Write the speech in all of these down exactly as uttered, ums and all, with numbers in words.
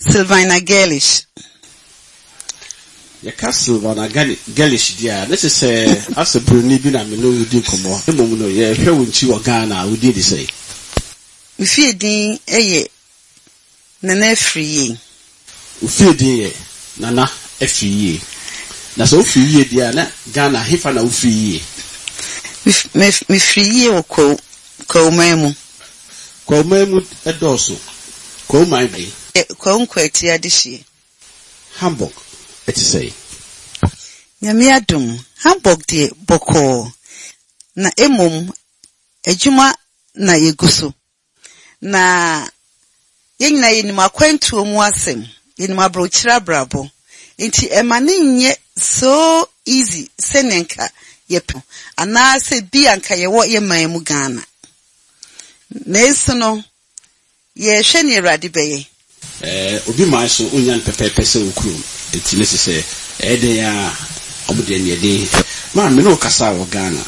Sylvana Gellish. Yɛka Sylvana Gellish deɛ a, ne kyerɛ sɛ asɛ buroni bi na me ne wo di nkɔmmɔ. Mmom no, yɛhwɛ wo nkyi wɔ Ghana a, wodin de sɛn? Me fie din yɛ Nana Afriyie. Wo fie din yɛ Nana Afriyie. Na sɛ wofiri yie deɛ a, na Ghana hefa na wofiri yie? Mefiri yie wɔ Kwawu, Kwawuman mu. Kwawuman mu dɔɔso. Kwawuman bɛn? Kwawu Nkwatia adehyeɛ. Hamburg ɛte sɛn? Nyame adom, Hamburg deɛ bɔkɔɔ. Na mmom, adwuma na yɛgu so. Na yɛn nyinaa yɛnim akwantuo mu asɛm, yɛnim aburokyire abrabɔ. Nti ɛma ne nyɛ so easy sɛnea nka yɛpɛ anaasɛ bi a nka yɛwɔ yɛ man mu Ghana. Nanso no, yɛhwɛ nea Awurade bɛyɛ. Ɛɛ, obi man so wonya no pɛpɛɛpɛ sɛ wo kurom. Nti ne sɛ ɛyɛ den a ɔmo deɛ neɛ den. Maa me ne wo kasa wɔ Ghana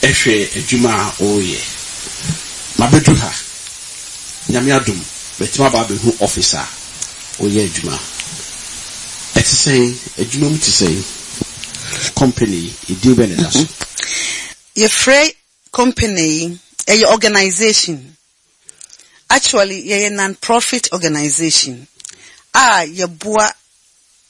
ɛhwɛ adwuma a wɔreyɛ. Mabɛduru ha. Nyame adom, mɛtumi aba abɛhu office a woyɛ adwuma. Ɛte sɛn? Adwuma mu te sɛn? Company yi, edin bɛn na ɛda so? Yɛfrɛ company yi, ɛyɛ organization. Actually, yɛyɛ non-profit organization a yɛboa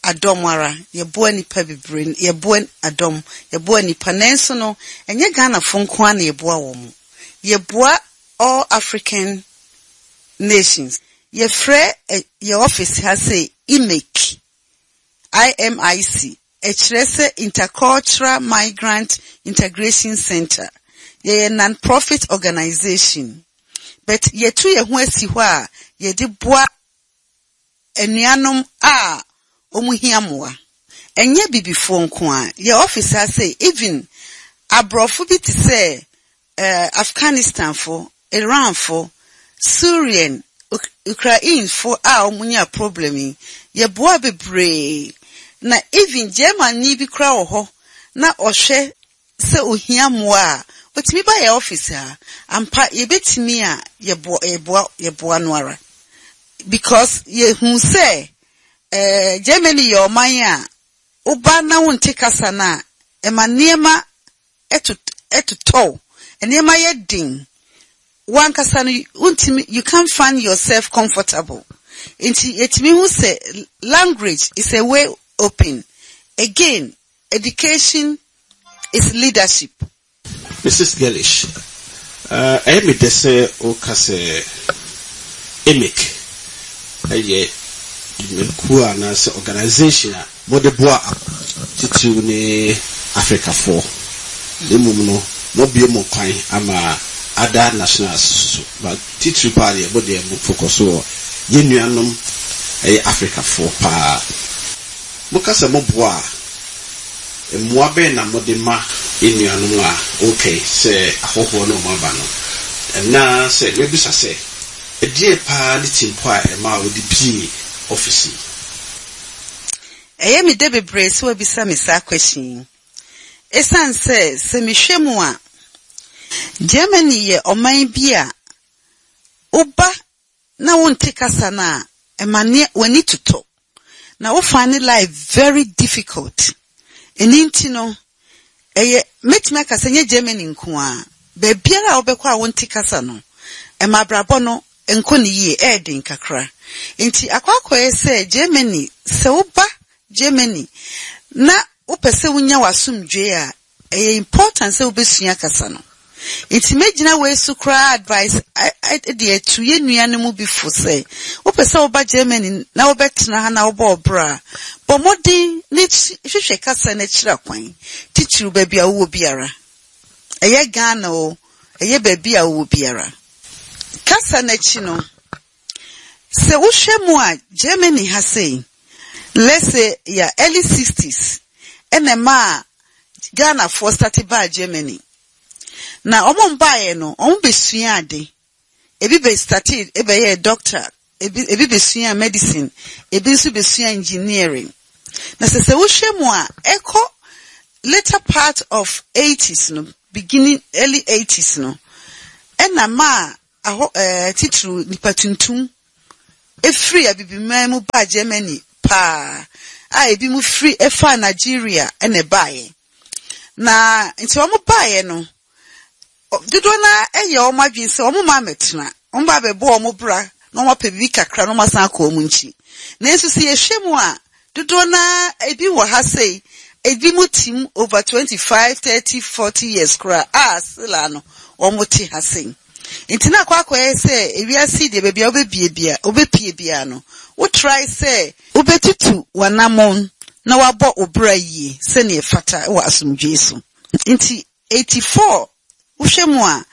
adɔm ara, yɛboa nipa bebree, yɛboa adɔm, yɛboa nipa. Nanso no, ɛnyɛ Ghanafo nko ara na yɛboa wɔn. Yɛboa all African nations. Yɛfrɛ yɛ office ha sɛ I M I C, I M I C. Ɛkyerɛ sɛ Intercultural Migrant Integration Center. Yɛyɛ non-profit organization. But yɛtu yɛn ho asi hɔ a yɛde boa anuanom a wɔn hia mmoa. Ɛnyɛ bibifoɔ nko a. Yɛ office ha sɛ even aborɔfo bi te sɛ uh, Afghanistanfo, Iranfo, Syrian, Ukrainefo a wɔn nya problem yi, yɛboa bebree. Na even Germany bi koraa wɔ hɔ na ɔhwɛ sɛ ohia mmoa a, otumi ba yɛ office ha. Ampa yɛbɛtumi a yɛboa yɛboa yɛboa no ara. Because yɛhu sɛ eh, Germany yɛ ɔman a woba na wonte kasa no a, ɛma nneɛma ɛtotɔw. Nneɛma yɛ den. Wankasa no wontumi, you can't find yourself comfortable. Nti yɛtumi hu sɛ language is a way open. Again, education is leadership. Missus Gellish, ɛyɛ me dɛ sɛ woka sɛ I M I C ɛyɛ dwumakuo anaasɛ organization a mode boa titiriw ne Africafoɔ. Na mmom no, mobie mo kwan ama other nationals so. But titiriw paa deɛ, mo deɛ mo focus wɔ yɛn nuanom ɛyɛ Africafoɔ paa. Moka sɛ moboa a, mmoa bɛn na mode ma yɛn nuanom a okay sɛ ahɔhoɔ no ɔmo aba no? Ɛnaa sɛ mebisa sɛ, ɛdeɛ paa ne timpo a ɛma a wode bie office yi? Ɛyɛ me dɛ bebree sɛ wabisa me saa question yi. Esiane sɛ sɛ mehwɛ mu a, Germany yɛ ɔman bi a woba na wonte kasa no a, ɛma nneɛ w'ani totɔ. Na wo find life very difficult. Ɛno nti no, ɛyɛ mɛtumi aka sɛ nyɛ Germany nko a, baabiara a wobɛkɔ a wonte kasa no, ɛma abrabɔ no nkɔ ne yie, ɛyɛ den kakra. Nti akɔ akɔyɛ sɛ Germany, sɛ woba Germany na wopɛ sɛ wonya w'asomdwoe a, ɛyɛ important sɛ wobɛsua kasa no. Nti mɛgyina wei so koraa advice de atu yɛn nua no mu bi fo sɛ wopɛ sɛ woba Germany na wobɛtena ha na wobɔ ɔbra a, bɔ mmɔden ne hwehwɛ kasa no akyiri akwan, titiriw baabi a wowɔ biara. Ɛyɛ Ghana o, ɛyɛ baabi a wowɔ biara. Kasa no akyi no, sɛ wohwɛ mu a, Germany ha sei, let's say yɛ early sixties ɛna ɛma a Ghanafoɔ start baa Germany. Na ɔmo mbaeɛ no, ɔmo bɛsua ade. Ebi bɛ start ɛbɛyɛ doctor, ebi ebi bɛsua medicine, ebi nso bɛsua engineering. Na sɛ sɛ wohwɛ mu a, ɛkɔ later part of eighties no, beginning early eighties no, ɛna maa ahɔ ɛɛ titiriw nipa tuntum Ɛfiri Abibiman mu baa Germany paa a ebi mu firi ɛfaa Nigeria ɛna ɛbaeɛ. Na nti wɔn baeɛ no, dodoɔ no ɛyɛ wɔn adwene sɛ wɔn mma mmɛtena, wɔn ba abɛbɔ wɔn bra na wɔn apɛ biribi kakra na wɔn asan akɔ wɔn nkyi. Nanso sɛ yɛhwɛ mu a, dodoɔ no ebi wɔ ha sei, ebi mu tim over twenty five thirty forty years koraa a still no wɔn te ha sei. Nti na akɔ akɔyɛ sɛ ewiase deɛ baabi a wobɛbie bia wobɛpie bia no, wotry sɛ wobɛtutu w'anammɔn na wabɔ wo bra yie sɛnea ɛfata wɔ asomdwee so. Nti eighty four wohwɛ mu a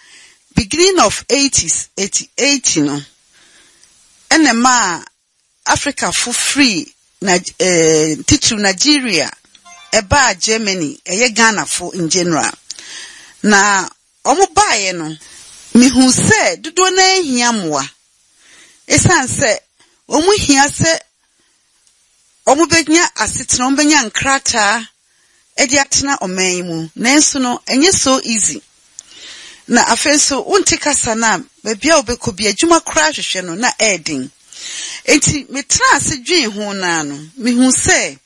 beginning of eighties eighty eight no ɛna maa Africafo firi na ɛɛ titiri Nigeria ɛbaa Germany ɛyɛ Ghanafo in general. Na wɔn baeɛ no, mihu sɛ dodoɔ no ahia mmoa. Esiane sɛ wɔn hia sɛ wɔn bɛnya asetena, wɔn bɛnya nkrataa ɛde atena ɔman yi mu. Nanso no, ɛnyɛ so easy. Na afei nso, wonte kasa no a, baabi a wobɛkɔ bi, adwuma koraa hwehwɛ no na ɛyɛ den. Enti metena ase dwen ho naa no, mihu sɛ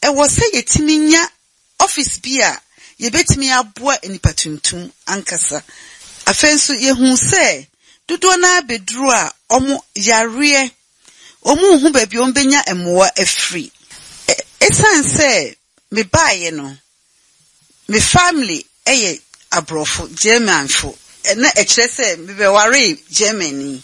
ɛwɔ sɛ yɛtumi nya office bi a yɛbɛtumi aboa nnipa tuntum ankasa. Afei nso yɛhu sɛ dodoɔ no abɛduru a ɔmo yareɛ, ɔmo nhu baabi a ɔmo bɛnya mmoa afiri. Esiane sɛ mebaeɛ no, me family ɛyɛ aborɔfo, Germanfo. Na ɛkyerɛ sɛ mebɛwaree Germany.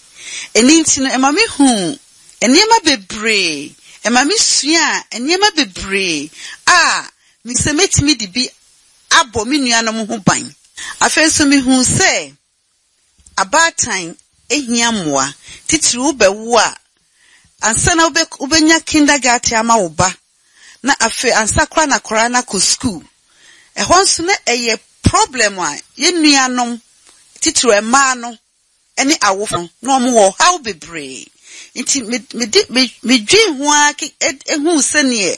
Ɛno nti no, ɛma mehu nneɛma bebree, ɛma mesua nneɛma bebree a mesɛ mɛtumi de bi abɔ me nuanom ho ban. Afei nso mehu sɛ abaatan ehia mmoa, titiri wobɛwo a, ansa na wobɛnya kindergarten ama wo ba, na afei ansa koraa na akwaraa no akɔ school. Ɛhɔ nso na ɛyɛ problem a yɛn nuanom titiri mmaa no ne awofo no na wɔn wɔ haw bebree. Nti mede medwen ho ara ehu sɛneɛ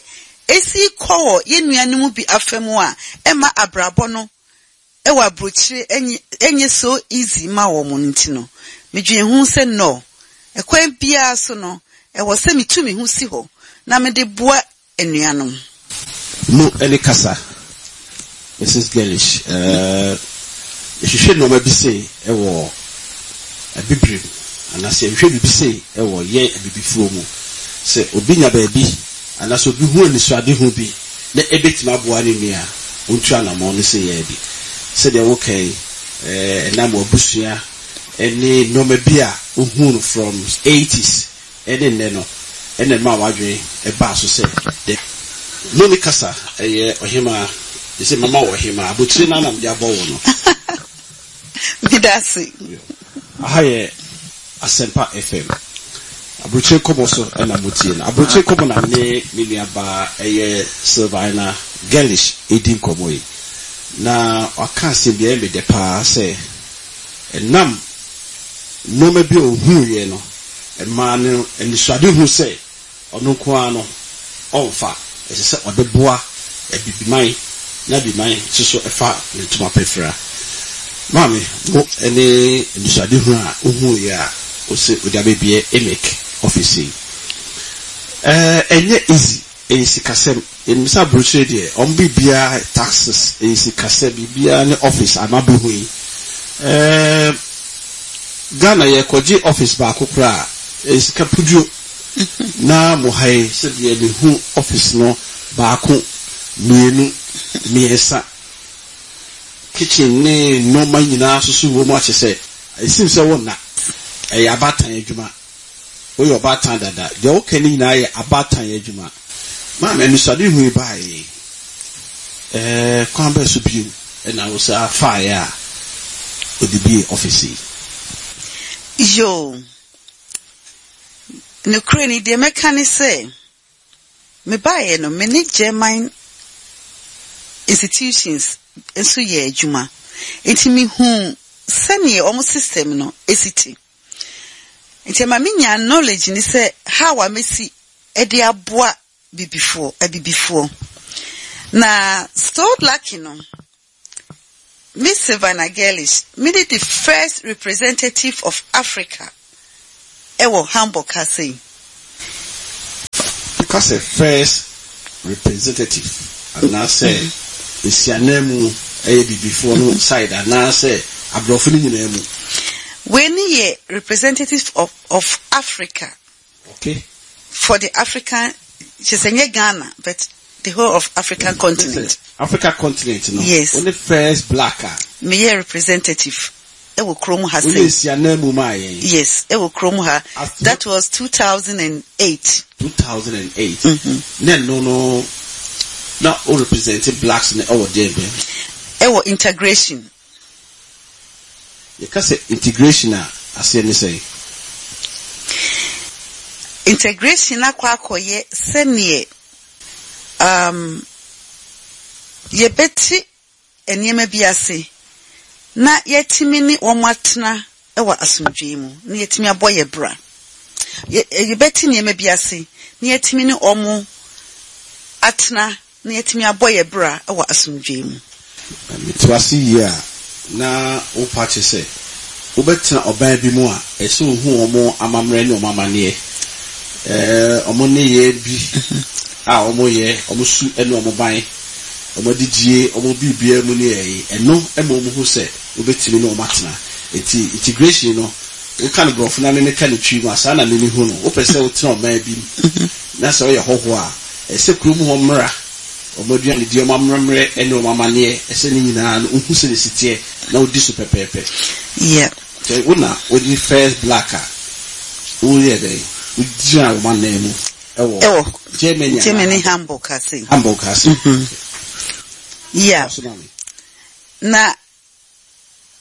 esi kɔ wɔ yɛn nuanom bi afa mu a ɛma abrabɔ no ɛwɔ aburokyire ɛnyɛ so easy ma wɔn no nti no, medwen ho sɛ no, ɛkwan biara so no, ɛwɔ sɛ metu me ho si hɔ na mede boa anuanom. Mo ɛne kasa, Mrs. Gellish, ɛɛ yɛhwehwɛ nneɛma bi sei ɛwɔ abibirim anaasɛ yɛhwehwɛ biribi sei ɛwɔ yɛn abibifoɔ mu sɛ obi nya baabi anaasɛ obi hu anisoadehu bi na ebetumi aboa ne nua ontu anammɔn no sɛ yɛ bi sɛdeɛ woka yi ɛɛ ɛnam abusua ɛne nneɛma bi a ohun no from eighties ɛne nnɛ no ɛna ɛma wadwene ɛbaa so sɛ de mo ne kasa ɛyɛ ɔhemaa sɛ mama wɔ ɔhemaa abotire no anam de abɔ wɔ no. Meda ase. Aha yɛ Asɛmpa FM aburokyire kɔmɔ so ɛna mo tie no aburokyire kɔmɔ na ne me nuabaa ɛyɛ Sylvina Gellish edi nkɔmɔ yi na waka asɛm bi ɛyɛ me dɛ paa sɛ ɛnam nneɛma bi a ohun yɛ no mmaa no anisoade hu sɛ ɔno nko ara no ɔnfa ɛsɛ sɛ ɔde boa abibiman na abibiman nso so ɛfa ne ntoma pɛfra maame mo ɛne anisoade hu a ohun yɛ a ɔsɛ ɔde abɛbie emic office yi ɛɛ ɛnyɛ easy ɛyɛ sikasɛm yɛnim aburokyire deɛ ɔmo biribiara taxes ɛyɛ sikasɛm biribiara ne office ama bɛhu yi ɛɛ Ghana yɛkɔgye office baako koraa ɛyɛ sika puduo na mo ha yi sɛdeɛ mehu office no baako mmienu mmiɛnsa kitchen ne nneɛma nyinaa soso wɔ mu akyɛ sɛ esim sɛ wɔn na ɛyɛ abaatan adwuma woyɛ ɔbaatan dada deɛ wɔka ne nyinaa yɛ abaatan adwuma maame anisoade hu yi baeɛ ɛɛ kwan bɛɛ so bio ɛna wosɛ afaeɛ a ɔde bie office yi. Yo, nokorɛ ni deɛ mɛka ne sɛ mebaeɛ no me ne German institutions nso yɛ adwuma nti mehu sɛneɛ ɔmo system no esi te nti ɛma menya knowledge ni sɛ how a mesi ɛde aboa bibifoɔ abibifoɔ na so lucky no Miss Savannah Gellish, me ne the first representative of Africa ɛwɔ Hamburg ha sei. Woka sɛ first representative anaasɛ nsianan mu, ɛyɛ bibifoɔ no side anaasɛ aborɔfo no nyinaa mu? Wei ne yɛ representative of, of Africa. Okay. For the African, kyerɛ sɛ nyɛ Ghana but the whole of African continent. Africa continent no. Yes. Wo ne first black a meyɛ representative ɛwɔ kurom ha. Wo ne sɛ nsianan mu maa yɛn. Yes, ɛwɔ kurom ha. After- That was two thousand and eight. two thousand and eight. Na ɛno no na wo represent blacks no ɛwɔ deɛ bɛn? Ɛwɔ integration. Yɛka sɛ integration a, aseɛ ne sɛ? Integration akɔ akɔyɛ sɛneɛ um, yɛbɛte nneɛma bi ase na yɛtumi ne wɔn atena wɔ asomdwee mu na yɛtumi abɔ yɛ bra. Yɛ- yɛbɛte nneɛma bi ase na yɛtumi ne wɔn atena na yɛtumi abɔ yɛ bra wɔ asomdwee mu. Mete ase yie a, na wopa kyerɛ sɛ wobɛtena ɔban bi mu a, ɛsɛ ohu wɔn amammerɛ ne wɔn amanneɛ, ɛɛ wɔn nneyɛɛ bi a wɔyɛ, wɔn su ne wɔn ban, wɔn adidie, wɔn biribiara mu ne ɛyi ɛno ɛma wɔn hu sɛ wobɛtumi ne wɔn atena. Eti integration no, woka no borɔfo na meme ka ne Twi mu a, saa na meme hu no. Wopɛ sɛ wotena ɔman bi mu na sɛ woyɛ hɔhoɔ a, ɛsɛ kurom hɔ mmra, wɔn aduane di, wɔn amammerɛ ne wɔn amanneɛ, ɛsɛ ne nyinaa no wohu sɛ ne si teɛ na wodi so pɛpɛɛpɛ. Yeah. Sɛ wo na wodi first black a woyɛ dɛn, wogyina wɔn anan mu ɛwɔ ɛwɔ Germany anaa? Germany, Hamburg ase. Hamburg ase. Yeah. So na me. Na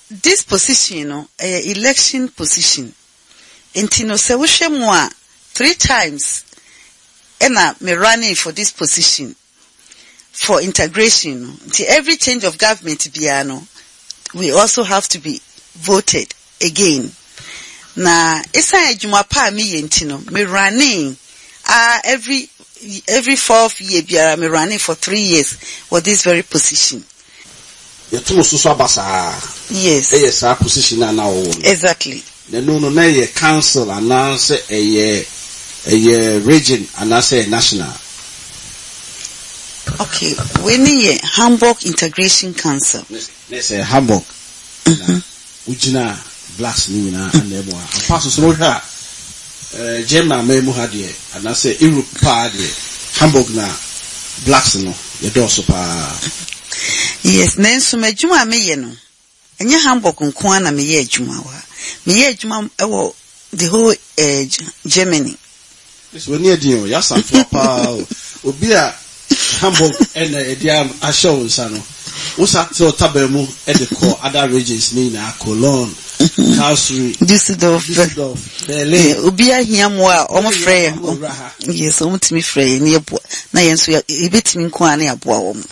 this position no, ɛyɛ election position, nti no sɛ wohwɛ mu a, three times ɛna me running for this position for integration no. Nti every change of government biara no, we also have to be voted again. Na esan adwuma pa a meyɛ nti no, me running ah every every fourth year biara, me running for three years for this very position. Yɛto so so aba saa? Yes. Ɛyɛ saa position a na wɔwɔ no? Exactly. Na ɛno no, na ɛyɛ council anaasɛ ɛyɛ ɛyɛ region anaasɛ ɛyɛ national? Okay, wei ne yɛ Hamburg Integration Council. Na sɛ Hamburg na wogyina blacks no nyinaa anan mu a, ampa so so no, wohwɛ a, ɛɛ German man mu ha deɛ anaasɛ Europe paa deɛ, Hamburg na blacks no yɛdɔɔso paa. Yes, nanso m'adwuma a meyɛ no, ɛnyɛ Hamburg nko ara na meyɛ adwuma wɔ ha. Meyɛ adwuma wɔ the whole uh, Germany. Ɛsɛ w'ani adi o, yɛasantoa paa o. Obi a Hamburg ɛna ɛde ahyɛ wo nsa no, wosa te ɔtaba mu ɛde kɔ other regions ne nyinaa, Cologne, Karlsruhe, Düsseldorf. Düsseldorf, Berlin. Obi ahia mmoa a, ɔmo frɛ yɛn. Ɔmo wura ha. Yes, ɔmo tumi frɛ yɛn ne yɛboa, na yɛn nso yɛ- yɛbɛtumi nko ara ne yɛaboa wɔn.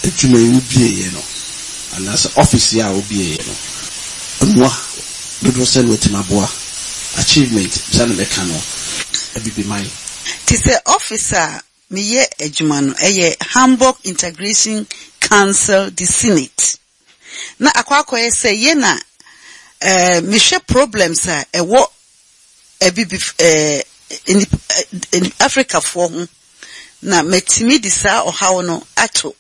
Adwuma yi wobieeɛ no anaasɛ office yi a wobieeɛ no, mmoa dodoɔ sɛ no watumi aboa, achievement sɛ na mɛka no, abibiman? Te sɛ office a meyɛ adwuma no, ɛyɛ Hamburg Integration Council, the Senate. Na akɔ akɔyɛ sɛ yɛ na ɛɛ mehwɛ problems a ɛwɔ abibi ɛɛ nip ɛɛ Africafoɔ ho, na mɛtumi de saa ɔhaw no ato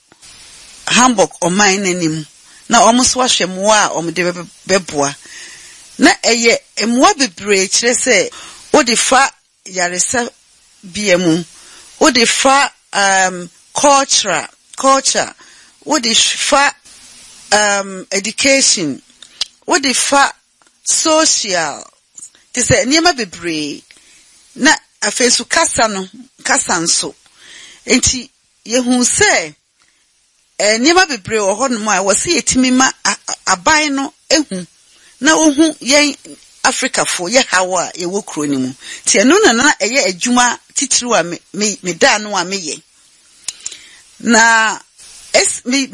Hamburg ɔman n'anim na wɔn nso ahwɛ mmoa a wɔde bɛ bɛboa. Na ɛyɛ mmoa bebree, kyerɛ sɛ wode fa yaresabea mu, wode fa um, culture culture wode fa um, education, wode fa social, te sɛ nneɛma bebree. Na afei nso kasa no, kasa nso nti yɛhu sɛ eh, nneɛma bebree wɔ hɔnom a wɔsi yɛtumi ma a- a- aban no ehu na ohu yɛn Afrikafoɔ yɛ haw a yɛwɔ kuro no mu. Nti ɛno na na ɛyɛ adwuma titiriw a me me meda ano a meyɛ. Na es me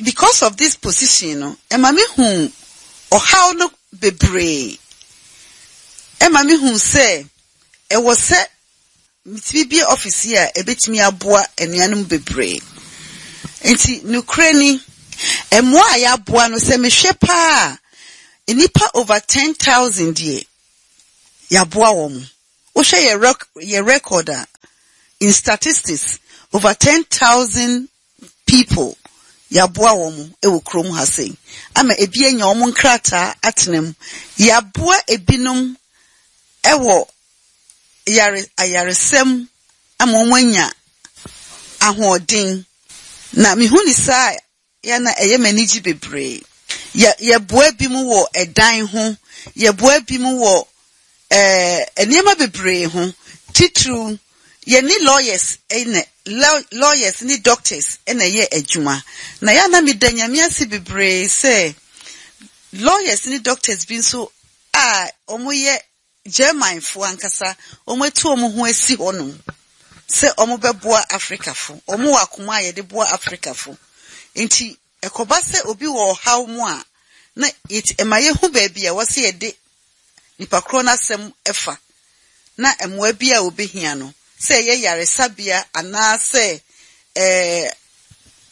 because of this position no, ɛma me hu ɔhaw no bebree, ɛma me hu sɛ ɛwɔ sɛ metumi bie office yi a ɛbɛtumi aboa anuanom bebree. Nti nokorɛ ni, mmoa a yɛaboa no, sɛ mehwɛ paa a, nnipa over ten thousand deɛ yɛaboa wɔn. Wohwɛ yɛ rec yɛ record a, In statistics, over ten thousand people yɛaboa wɔn wɔ kurom ha sei ama ebi anya wɔn nkrataa atena mu. Yɛaboa ebinom wɔ yare ayaresɛm ama wɔn anya ahoɔden. Na mehu ne saa a, yɛ na ɛyɛ m'anigye bebree. Yɛ yɛboa bi mu wɔ ɛdan ho, yɛboa bi mu wɔ ɛɛ nneɛma bebree ho. Titiriw, yɛne lawyers ɛna lawyers ne doctors ɛna ɛyɛ adwuma. Na yɛ na meda Nyame ase bebree sɛ lawyers ne doctors bi nso a wɔyɛ Germanfoɔ ankasa, wɔatu wɔn ho asi hɔnom sɛ wɔbɛboa Africafo. Wɔn wɔ akoma a yɛde boa Africafo. Nti ɛkɔba sɛ obi wɔ ɔhaw mu a, na ɛma yɛhu baabi a wɔsɛ yɛde nipa korɔ n'asɛm ɛfa na mmoa bi a obehia no, sɛ ɛyɛ yaresabea anaasɛ ɛɛ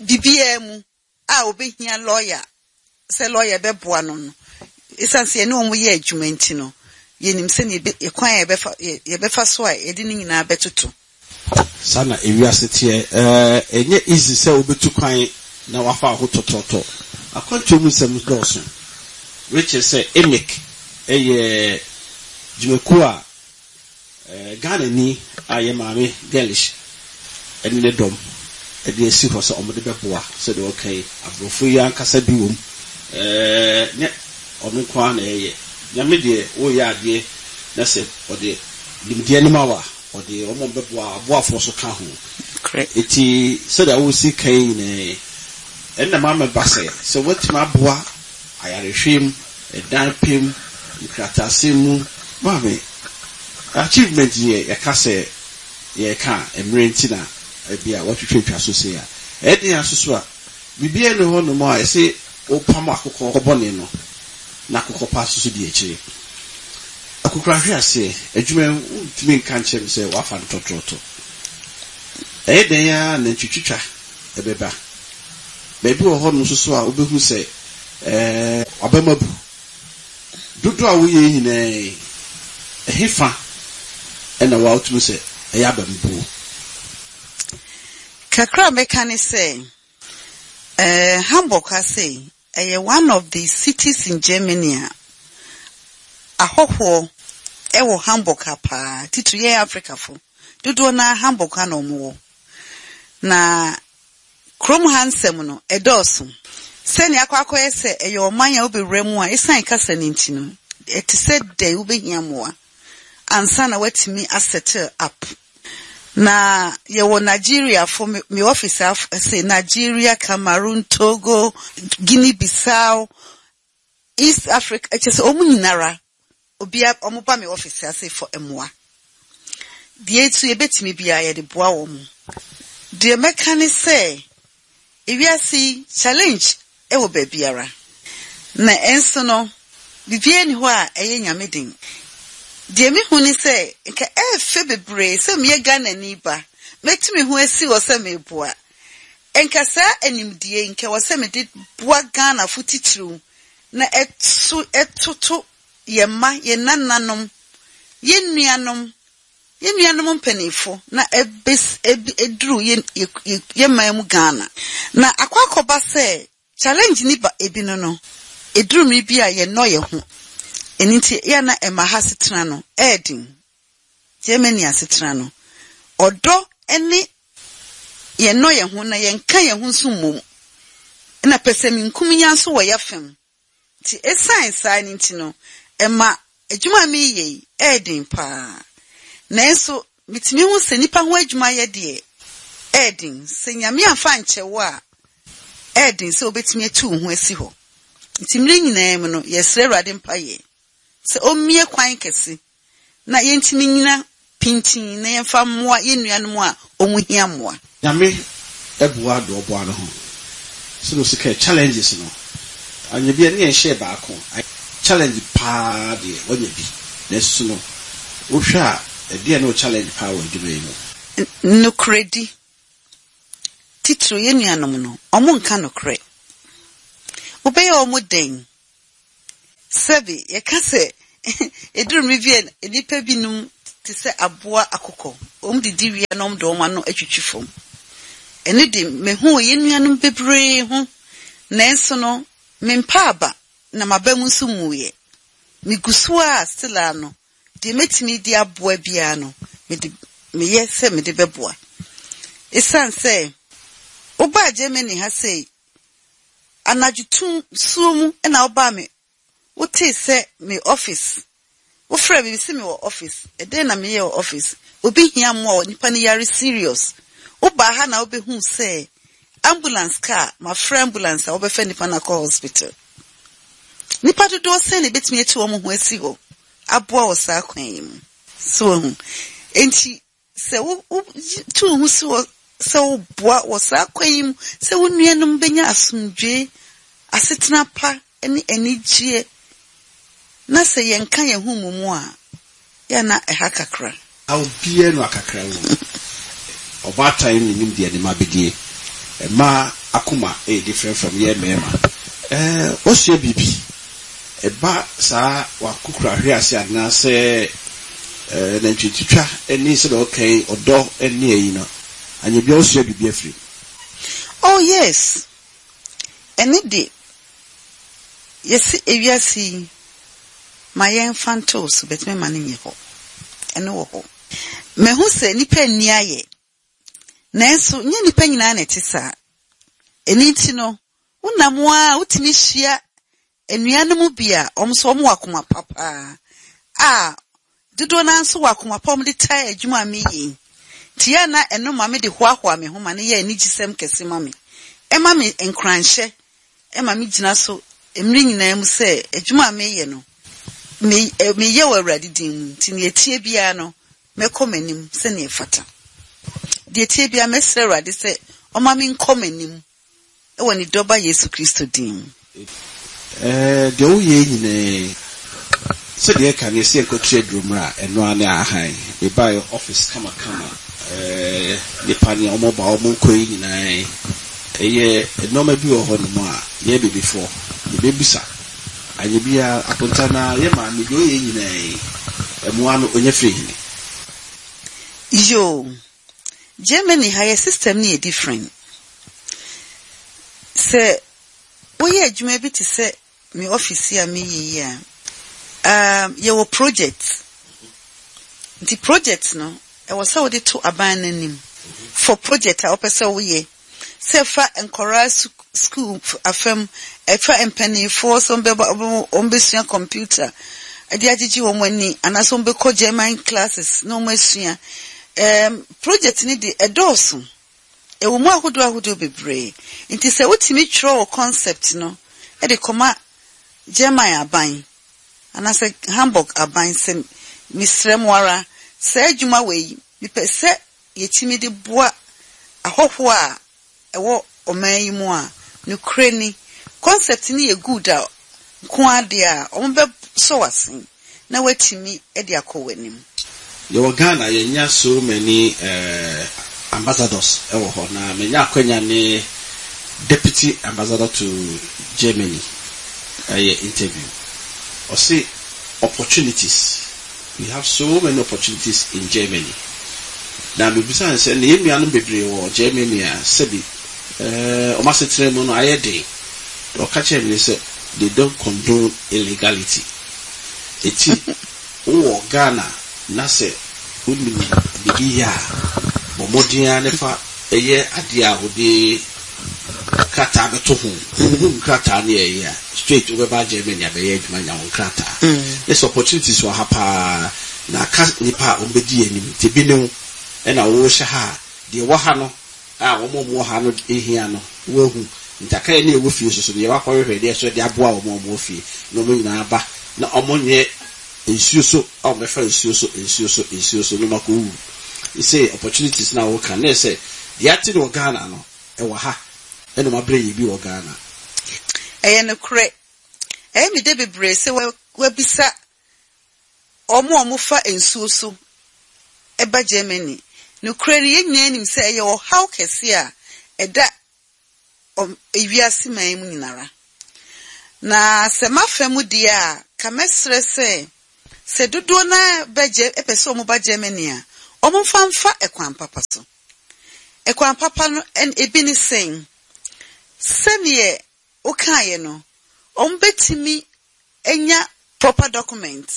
biribiara mu a obehia lawyer sɛ lawyer bɛboa no no esiane sɛ yɛne wɔn yɛ adwuma nti no, yɛnim sɛ yɛbɛ kwan a yɛbɛfa yɛbɛfa so a yɛde ne nyinaa bɛtoto. Saa na ewiase teɛ. ɛɛ ɛnyɛ easy sɛ wobɛtu kwan na wafa aho tɔtɔtɔ. Akwantuo mu nsɛm dɔɔso. Rekyerɛ sɛ EMIC ɛyɛ dwumakuo a ɛɛ Ghana ni a yɛ maame Girlish ɛne ne dɔm ɛde asi hɔ sɛ ɔmo de bɛboa. Sɛdeɛ ɔka yi, aborɔfo yi ankasa bi wɔ mu. ɛɛ nyɛ ɔno nko ara na ɛyɛ. Nyame deɛ, wɔreyɛ adeɛ na sɛ ɔde nimdeɛ no ma wo a, ɔde ɔmo bɛboa aboafoɔ so ka ho. Eti sɛdeɛ wosi kan nyinaa yi, ɛnna maama ba sɛ sɛ wɔatumi aboa ayarehwɛ mu, ɛdan pɛ mu, nkrataasɛm mu, maame achievement yɛ yɛka sɛ yɛka a, mmerɛ nti na ebi a wɔatwitwa twa so sei a ɛyɛ den asoso a biribiara ne hɔ nom a ɛsɛ wopam akokɔ bɔne no na akokɔ pa soso di akyire. Akokora hwe aseɛ adwuma yi, wontumi nka nkyerɛ me sɛ wafa no tɔtrɔtɔ. Ɛyɛ den a na ntwitwitwa ɛbɛba baabi wɔ hɔ nom nso so a wobɛhu sɛ ɛɛ wabɛma bu dodoɔ a woyɛ nyinaa yi, ɛhe fa ɛna wa wotumi sɛ ɛyɛ abambuo? Kakra a mɛka ne sɛ ɛɛ Hamburg ha sei ɛyɛ one of the cities in Germany a ahɔhoɔ ɛwɔ Hamburg ha paa. Titiri yɛn Africafo dodoɔ naa Hamburg ha na wɔn wɔ. Na kurom ha nsɛm no ɛdɔɔso. Sɛnea akɔ akɔyɛ sɛ ɛyɛ ɔman a wobɛwura mu a, ɛsiane kasa no nti no, ɛte sɛ dɛn wobɛhia mmoa ansa na woatumi asettle up. Na yɛwɔ Nigeriafo, me, me office af sɛ Nigeria, Cameroon, Togo, Guinea Bissau, East Africa, ɛkyɛ sɛ ɔmo nyinara obia ɔmo ba me office ase for mmoa. Deɛ etu yɛbɛtumi biara, yɛde boa wɔn. Deɛ mɛka ne sɛ ewiase yi, challenge ɛwɔ baabiara, na ɛnso no biribiara ni hɔ a ɛyɛ Nyame den. Deɛ mehu ne sɛ nka ɛɛfɛ bebree sɛ meyɛ Ghanani ba, mɛtumi ho asi hɔ sɛ meboa. Nka saa animdie nka wɔ sɛ mede boa Ghanafo titiriw na ɛto ɛtoto yɛn mma, yɛn nananom, yɛn nuanom, yɛn nuanom mpanimfo na ɛbɛs ɛbi ɛduru yɛn yɛ yɛn man mu Ghana. Na akɔ akɔba sɛ challenge ni ba ebi no no eduru mmiri bi a yɛnnɔ yɛn ho. Ɛno nti yɛn na ɛma ha asetena no ɛɛden. Germany asetena no, ɔdɔ ne yɛnnɔ yɛn ho na yɛnka yɛn ho nso mmom, ɛna pɛsɛmenkominya nso wɔ yɛ fam. Nti ɛsiane saa no nti no, ɛma adwuma a meyɛ yi ɛɛden paa. Nanso metumi hu sɛ nipa ho adwuma yɛ deɛ ɛɛden. Sɛ Nyame amfa ankyɛ wo a, ɛɛden sɛ wobɛtumi atu wo ho asi hɔ. Nti mmerɛ nyinaa mu no, yɛsrɛ Awurade mpayɛ sɛ ɔmmue kwan kɛse na yɛntumi nyina pintin na yɛmfa mmoa yɛn nuanom a ɔmo hia mmoa. Nyame ɛboa de ɔboa no ho sɛde osi ka challenges no anya bi a ne yɛnhyɛ baako challenge paa deɛ wanya bi, nanso no wohwɛ a, ɛdeɛ ne wo challenge paa wɔ adwuma yi mu? Nokorɛdi. Titiri yɛn nuanom no, ɔmo nka nokorɛ. Wobɛyɛ ɔmo dɛn? Sɛbi yɛka sɛ eduru mmere bi a nnipa binom te sɛ aboa akokɔ. Wɔn didi wie na wɔn de wɔn ano atwitwi fam. Ɛno de, mehu wɔ yɛn nuanom bebree ho. Nanso no, mempa aba na m'aba mu nso mmuiɛ. Megu so a still a no, deɛ mɛtumi de aboa biara no, mede meyɛ sɛ mede bɛboa. Esiane sɛ wobaa Germany ha sei, anadwo tum suo mu ɛna wobaa me, wotee sɛ me office, wofrɛ me sɛ mewɔ office. Ɛdɛn na meyɛ wɔ office? Obi hia mmoa wɔ nipa no yare serious. Wobaa ha na wobɛhu sɛ ambulance car, mafrɛ ambulance a wɔbɛfa nipa no akɔ hospital. Nipa dodoɔ sɛn na ebetumi atu wɔn ho asi hɔ aboa wɔ saa kwan yi mu? So wahu. Enti sɛ wo wo tu wo ho si hɔ sɛ woboa wɔ saa kwan yi mu sɛ wo nuanom bɛnya asomdwee, asetena pa ne anigyeɛ, na sɛ yɛnka yɛn ho mmɔ mu a, yɛ na ɛha kakra. Obiara no akakra wɔ mu. Ɔbaatan ne nim deɛ ne ma bɛdie. Mmaa akoma ɛyɛ different from yɛ mmarima. Ɛɛ wɔsua biribi. Ɛba saa wakokora ahwe ase anaasɛ ɛɛ nantwitwitwa ɛne sɛdeɛ ɔka yi, ɔdɔ ɛne ɛyi no. Anya bia wɔsua biribi afiri mu. Oh yes. Ɛne de, yɛsi ewiase yi, ma yɛmfa nto so bɛtumi ma no nyɛ hɔ. Ɛno wɔ hɔ. Mahu sɛ nnipa nni ayɛ. Nanso nyɛ nnipa nyinaa na ɛte saa. Ɛno nti no, wonam a wotumi hyia nnuanom bi a wɔn nso wɔn wɔ akoma pa paa a dodoɔ naa nso wɔ akoma pa a wɔde tae adwuma a meyɛ yi. Nti yɛ na ɛno ma me de hoahoa me ho ma no yɛ anigyesɛm kɛse ma me. Ɛma me nkuranhyɛ, ɛma me gyina so mmere nyinaa mu sɛ adwuma a meyɛ no, me meyɛ wɔ Awurade din mu. Nti nea ɛtie biara no, mɛkɔ m'anim sɛnea ɛfata. Deɛ ɛtie biara, mɛsrɛ Awurade sɛ ɔma me nkɔ m'anim ɛwɔ ne dɔba Yesu Kristo din mu. Ɛɛ deɛ woyɛ nyinaa, sɛdeɛ ɛka no, yɛsɛ yɛnkɔtua aduro mmerɛ a ɛno ara ne ahan. Mebaeɛ office kamakama, ɛɛ nipa ne ɔmo ba ɔmo nkɔ yi nyinaa, ɛyɛ nneɛma bi wɔ hɔnom a yɛ bebefoɔ yɛbɛbisa. Anyɛ biara akonta na yɛ maame deɛ ɔyɛ nyinaa yi, ɛmoa no ɔnya firi hene? Yo, Germany ha yɛ system no yɛ different. Sɛ woyɛ adwuma bi te sɛ me office yi a meyɛ yi a, um, yɛwɔ project. Nti project no, ɛwɔ sɛ wode to aban no anim for project a wopɛ sɛ woyɛ. Sɛ fa nkɔraa school afam, ɛfa mpanimfoɔ sɛ wɔbɛba wɔbɛsua computer ɛde agyegye wɔn ani, anaasɛ wɔbɛkɔ German classes na wɔn asua. Um, project no de ɛdɔɔso. Ɛwɔ mu ahodoɔ ahodoɔ bebree. Nti sɛ wotumi twerɛ wɔ concept no ɛde kɔma German aban anaasɛ Hamburg aban sɛ mesrɛ mo ara, saa adwuma wɔ yi, mepɛ sɛ yɛtumi de boa ahɔhoɔ a ɛwɔ ɔman yi mu a, nokorɛ ni, concept no yɛ good a nko adeɛ a wɔn bɛsɔ w'asen na watumi de akɔ w'anim. Yɛwɔ Ghana, yɛnya so many uh, ambassadors ɛwɔ hɔ, na menya akwanya ne deputy ambassador to Germany ɛyɛ interview. Ɔse opportunities, we have so many opportunities in Germany. Na mebisa no sɛ ne yɛn nuanom bebree wɔ Germany a sɛbi ɛɛ ɔmo asetena mu no ayɛ den. Ɔka kyerɛ me sɛ they don't condone illegality. Eti wowɔ Ghana na sɛ wonim biribi yɛ a, bɔ mmɔden ara ne fa ɛyɛ adeɛ a wode krataa bɛto ho. Wohu nkrataa ne ɛyɛ a, straight wobɛba Germany abɛyɛ adwuma nya wo nkrataa. Ne sɛ opportunities wɔ ha paa na aka nipa a wɔbɛdi anim. Nti ebi ne wo ɛna wɔrehyɛ ha a, deɛ ɛwɔ ha no a wɔn a wɔwɔ ha no ehia no wɔahu. Nti aka yɛ ne ɛwɔ fie soso no, yɛwɔ akɔhwehwɛ deɛ so de aboa wɔn a wɔwɔ fie na wɔn nyinaa ba na wɔn nyɛ nsuo so a wɔbɛfa nsuo so, nsuo so, nsuo so na wɔn akɔ wu. Sɛ opportunities na wɔka ne sɛ deɛ ate no wɔ Ghana no ɛwɔ ha, ɛna wɔn abrɛ yɛ bi wɔ Ghana. Ɛyɛ nokorɛ. Ɛyɛ me de bebree sɛ wabisa wɔn a wɔfa nsuo so ɛba Germany. Nokorɛ no, yɛn nyinaa nim sɛ ɛyɛ ɔhaw kɛse a ɛda ewiase man mu nyinara. Na sɛ mafa mu deɛ a, ka mɛsrɛ sɛ Sɛ dodoɔ naa bɛgye ɛpɛ sɛ ɔmo ba Germany a, ɔmo mfa mfa ɛkwan papa so. Ɛkwan papa no ɛn ebi ne sɛn? Sɛneɛ wokaeɛ no, ɔmo bɛtumi anya proper document.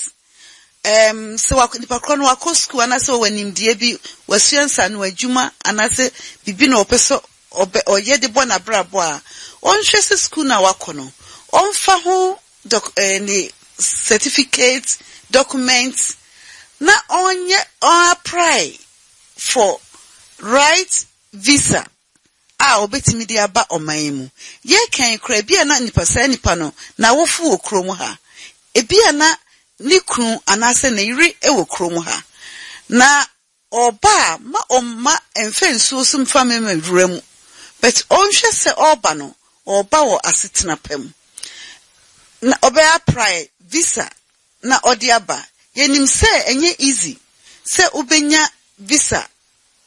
Um, sɛ wakɔ nipa korɔ no wakɔ school anaasɛ ɔwɔ nimdeɛ bi, wasua nsano adwuma anaasɛ biribi na ɔpɛ sɛ ɔbɛ ɔyɛ de bɔ n'abrabɔ a, ɔnhwɛ sɛ school na wakɔ no, ɔmfa ho doc ɛɛ ne certificate, document na ɔnyɛ ɔapply for right visa a ɔbɛtumi de aba ɔman yi mu. Yɛkan koraa, ebi a na nipa saa nipa no n'awofo wɔ kurom ha, ebi a na ne kunu anaasɛ ne yere wɔ kurom ha na ɔba a, ma ɔmma mfa nsuo so mfa mma wura mu, but ɔnhwɛ sɛ ɔreba no, ɔreba wɔ asetena pa mu na ɔbɛyɛ apply visa na ɔde aba. Yɛnim sɛ ɛnyɛ easy sɛ wobɛnya visa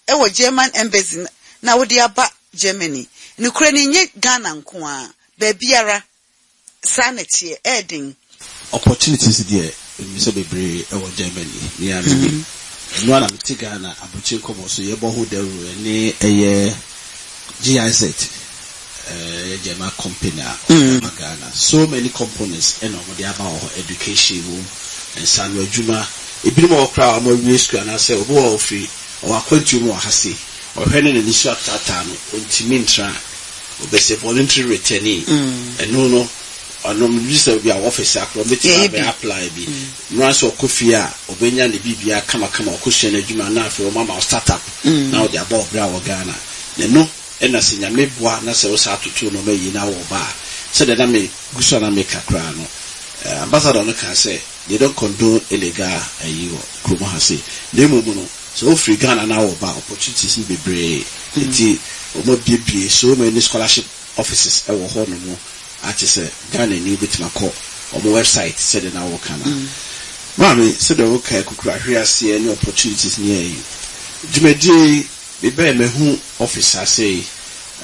ɛwɔ German Embassy na wode aba Germany. Nokura no, nyɛ Ghana nko a, baabiara saa na ɛteɛ, ɛɛden. Opportunities deɛ, ɛmu sɛ bebree ɛwɔ Germany ne a menim ɛno ara na mete Ghana abɔkye nkɔmmɔ so yɛbɔ ho dawuro. Ɛne ɛyɛ G I Z, ɛyɛ German company a ɔde aba Ghana. So many components ɛna ɔmode aba wɔ hɔ: education wɔ mu, nsano adwuma, ebinom wɔ hɔ koraa a wɔn awie sukuu anaasɛ obi wɔ ofiri ɔwɔ akwantuo mu wɔ ha se ɔhwɛ ne n'ani so ataataa no, ɔntumi ntra, ɔbɛsɛ voluntary returnee. Ɛno no ɔno bi sɛ bi a office akora ɔbɛtumi abɛ apply bi mmara sɛ ɔkɔ fie a, ɔbɛnya ne biribia kamakama, ɔkɔsua no adwuma na afei ɔma ma start up na ɔde abɔ ɔbrɛ a wɔ Ghana. Na ɛno ɛna sɛ Nyame boa na sɛ wosa atoto nneɛma yie na wɔ ba a, sɛdeɛ na me gu so a na meka koraa no, eh, ambassador no kaa sɛ they don't condone illegal ayi wɔ kurom ha sei, na mmom no sɛ wofiri Ghana na wɔ ba, opportunities no bebree nti wɔn abiebie so many scholarship offices ɛwɔ hɔ nom ate sɛ Ghana ni wobɛtumi akɔ wɔn website sɛdeɛ na wɔka no. Maame, sɛdeɛ wɔka kukuru ahwe aseɛ ne opportunities ne ayi dwumadie yi, mebɛɛ mahu office ase yi,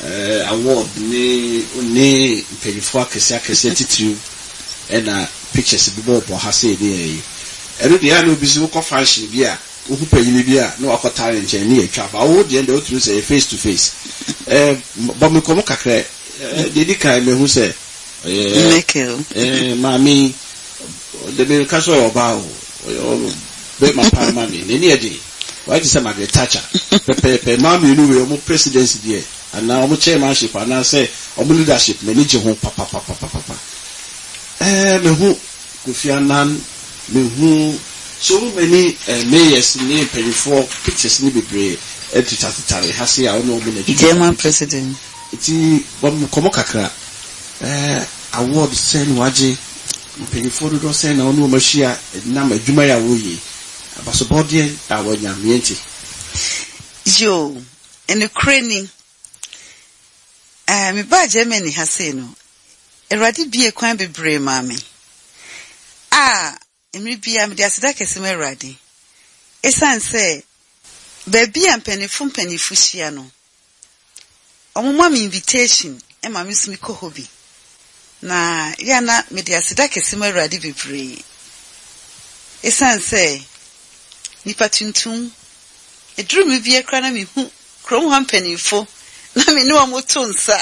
eh, award ne ne mpanyinfoɔ akɛseɛ akɛseɛ titiriw ɛna pictures bi bɔɔbɔ ha sei ne ayi. Ɛno deɛ, ɛna obi sɛ wokɔ function bi a, wohu panyin bi a na wakɔtare ne nkyɛn ne yɛtwa ba wo deɛ, deɛ wotumi sɛ yɛ face to face. ɛɛ bɔ me nkɔmɔ kakra. ɛɛ deɛ di kan, mehu sɛ ɔyɛ Michael. ɛɛ maame de me ka sɛ ɔyɛ ɔbaa o, ɔyɛ bɛrima paa ma me n'ani yɛ den, wayɛ te sɛ Margaret Thatcher pɛpɛɛpɛ. Maa mmienu wei, ɔmo presidency deɛ anaa ɔmo chairmanship anaasɛ ɔmo leadership, m'ani gye ho papapapapapa. ɛɛ mehu Kofi Annan, mehu so many uh, mayors ne mpanyinfoɔ pictures ne bebree ɛtetatare ha se a ɔne ɔmo na adwuma. German president. Nti bɔ nkɔmɔ kakra. ɛɛ award sɛn na wagye? Mpanyinfoɔ dodoɔ sɛn na ɔne wɔn ahyia nam adwuma yi a wɔreyɛ? Abasobɔdeɛ a wɔanya mmiɛnti. Yo, nokorɛ ni, uh, mebaa Germany ha sei no, Awurade bie kwan bebree maa me a mmere bia mede aseda kɛse ma Awurade, ɛsiane sɛ baabi a mpanimfo mpanimfo hyia no, ɔmo ma me invitation ma me nso mekɔ hɔ bi, na yɛ na mede aseda kɛse ma Awurade bebree, ɛsiane sɛ nipa tuntum eduru mi bia koraa na mehu kurom hɔ mpanimfo na me ne wɔn to nsa,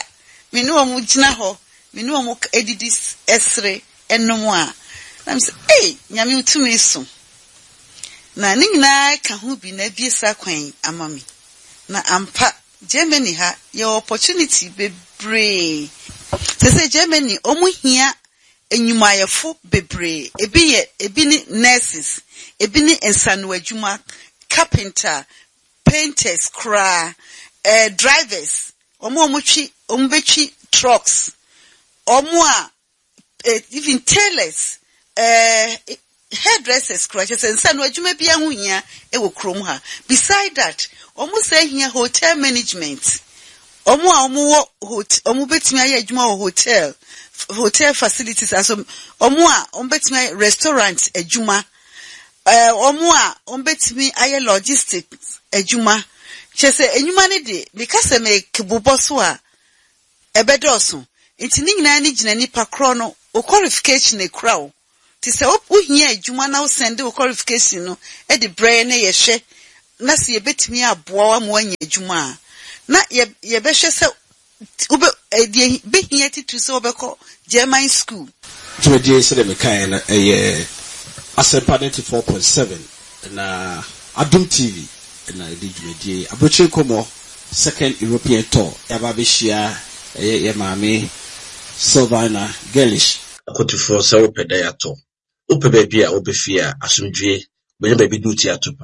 me ne wɔn gyina hɔ, me ne wɔn edidi, ɛsere, ɛnom a, na me sɛ, "Ei, Nyame tumi so!" Na ne nyinaa ka ho bi na ebie saa kwan ama me. Na ampa, Germany ha yɛwɔ opportunity bebree. Sɛ sɛ Germany, wɔn hia enyumayɛfo bebree. Ebi yɛ, ebi ne nurses, ebi ne nsano adwuma, carpenter, painters koraa, ɛɛ drivers, wɔn a wɔtwi, wɔn bɛtwi trucks, wɔn a eh, even tailors, ɛɛ hairdressers koraa. Kyerɛ sɛ nsano adwuma bi ho hia wɔ kurom ha. Beside that, wɔn sɛ hia hotel management, wɔn a wɔwɔ hotel, wɔn bɛtumi ayɛ adwuma wɔ hotel hotel facilities aso, wɔn a wɔn bɛtumi ayɛ restaurant adwuma, ɛɛ wɔn a wɔn bɛtumi ayɛ logistics adwuma. Kyerɛ sɛ enyuma no de, meka sɛ mekebobɔ so a, ɛbɛdɔɔso. Nti ne nyinaa ne gyina nipa korɔ no o, qualification ekura o. Nti sɛ wohia adwuma na wosend wo qualification no de brɛ yɛn na yɛhwɛ na sɛ yɛbɛtumi aboa wo ama woanya adwuma a, na yɛbɛhwɛ sɛ wobɛ deɛ bɛhia titiri sɛ wobɛkɔ German school. Dwumadie, sɛdeɛ mekaeɛ no, ɛyɛ Asɛmpa ninety-four point seven na Adom T V na ɛde dwumadie Aburokyire Nkɔmmɔ Second European Tour yɛaba abɛhyia. Ɛyɛ yɛ maame Sylvana Gerlich. Akotofoɔ, sɛ wopɛ dan atɔ, wopɛ baabi a wobɛfie a asomdwie, wobɛnya baabi de wo ti ato pa.